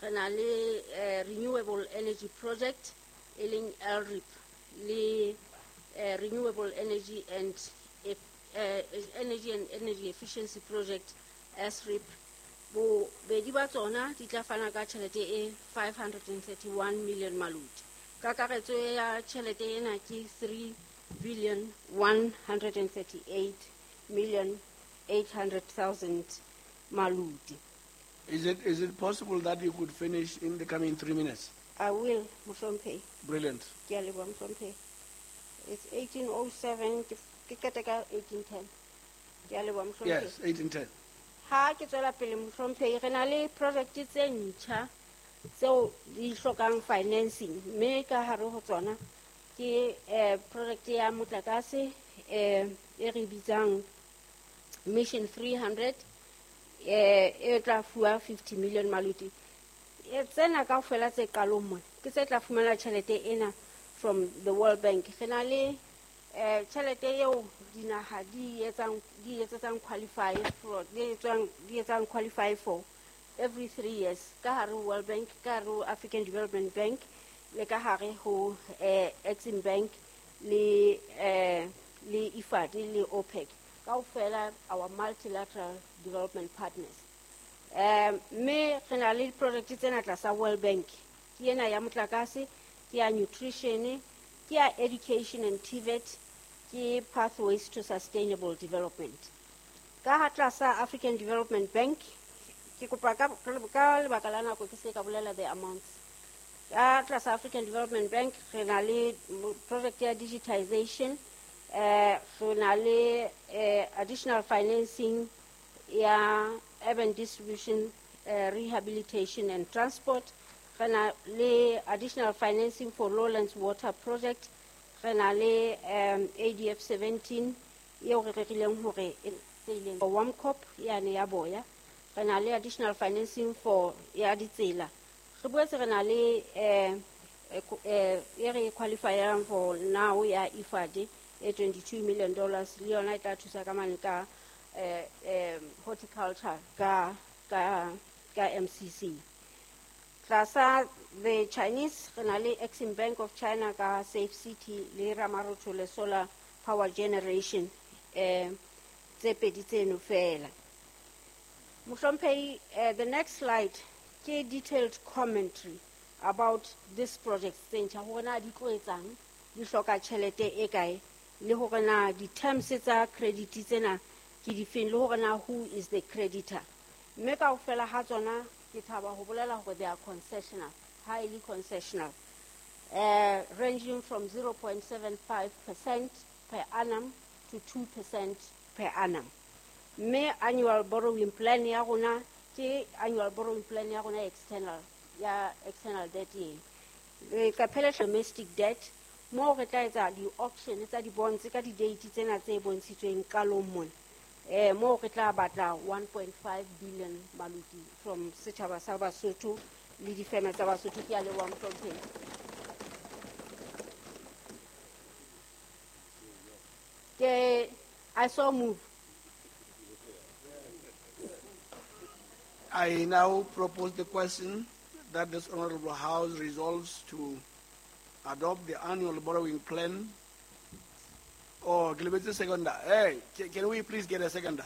Re na le Renewable Energy Project e leng LREP le Renewable Energy and Energy and Energy Efficiency Project SREP. Bobedi ba tsona di tla fana ka tjhelete e 531 million maluti. Kakaretso ya tjhelete ena ke 3 billion 138 million 800,000 maluti. Is it possible that you could finish in the coming 3 minutes? I will, Mohlomphehi. Brilliant. Ke a leboha, Mohlomphehi. It's 18:07, ke qete ka 18:10. Ke a leboha, Mohlomphehi. Yes, 18:10. Ha ke tswela pele, Mohlomphehi, re na le project tse ntjha tseo di hlokang financing, mme ka hare ho tsona ke project ya motlakase e re bitsang Mission 300 e tla fuwa 50 million maluti. Tsena kaofela tse qalong mona ke tse tla fumana tjhelete ena from the World Bank. Re na le tjhelete eo dinaha di etsetsang qualify for, di etsang qualify for every 3 years ka hare ho World Bank, ka hare ho African Development Bank le ka hare ho Exim Bank le IFAD le OPEC kaofela, our multilateral development partners. Mme re na le di-project tsena tlasa World Bank, ke ena ya motlakase, ke ya nutrition, ke ya education and TVET, ke pathways to sustainable development. Ka ha tlasa African Development Bank, ke kopa ka lebaka la nako ke se ka bolela the amounts. Ka tlasa African Development Bank re na le project ya digitization, re na le additional financing ya urban distribution, rehabilitation and transport, re na le additional financing for lowlands water project, re na le ADF 17 eo re rerileng hore e tse ileng WAMCOP yane ya boya, re na le additional financing for ya ditsela. Re boetse re na le e re qualifyang for now ya IFAD e $22 million, le yona e tla thusa ka mane ka horticulture ka MCC. Tlasa the Chinese re na le Exim Bank of China ka Safe City le Ramarothole le solar power generation, tse pedi tseno fela, Mohlomphehi. The next slide ke detailed commentary about this project tse ntjha, hore na di tlo etsang, di hloka tjhelete e kae, le hore na di-terms tsa credit tsena ke difeng, le hore na who is the creditor. Mme kaofela ha tsona ke thaba ho bolela hore they are concessional, highly concessional, ranging from 0.75% per annum to 2% per annum. Mme annual borrowing plan ya rona ke annual borrowing plan ya rona external, ya external debt e leqephe le domestic debt, moo re tla etsa di-auction tsa di-bonds ka di-date tsena tse bontshitsweng qalong mona, moo re tla batla 1.5 billion maluti from setjhaba sa Basotho le difeme tsa Basotho. Ke a leboha, Mohlomphehi. Ke I so move. I now propose the question that this Honorable House resolves to adopt the annual borrowing plan. Oh, ke lebetse seconder. Hey, can we please get a seconder?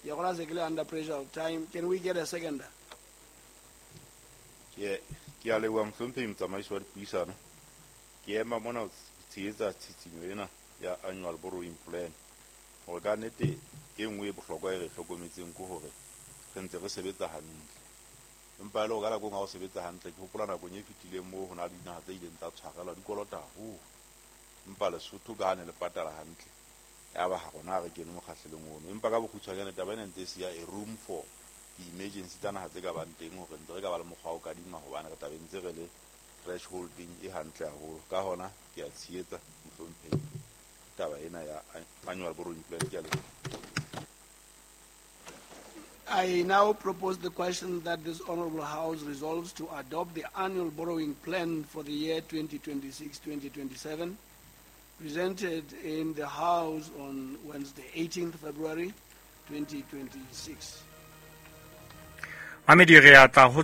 You're gonna under pressure of time. Can we get a seconder? Ke a leboha, Mohlomphehi motsamaisi wa dipuisano. Ke ema mona ho tshehetsa tshitshinyo ena ya annual borrowing plan, hore ka nnete e nngwe e bohlokwa e re hlokometseng ke hore re ntse re sebetsa hantle, empa e le hore ka nako e nngwe ha o sebetsa hantle, ke hopola nakong e fetileng moo ho na le dinaha tse ileng tsa tshwarelwa di kolota haholo, empa Lesotho ka ha ne le patala hantle, ya ba ha rona ha re kene mokgahlelong ono. Empa ka bokgutshwanyane taba ena ntse e siya a room for di-emergency tsa naha tse ka bang teng, hore ntse re ka ba le mokgwa wa ho kadima, hobane re tlabe ntse re le thresholding e hantle haholo. Ka hona ke a tshehetsa, Mohlomphehi, taba ena ya annual borrowing plan. Ke a leboha. I now propose the question that this Honorable House resolves to adopt the annual borrowing plan for the year 2026-2027, presented in the House on Wednesday, 18th February 2026. Mamedi, re atla ho.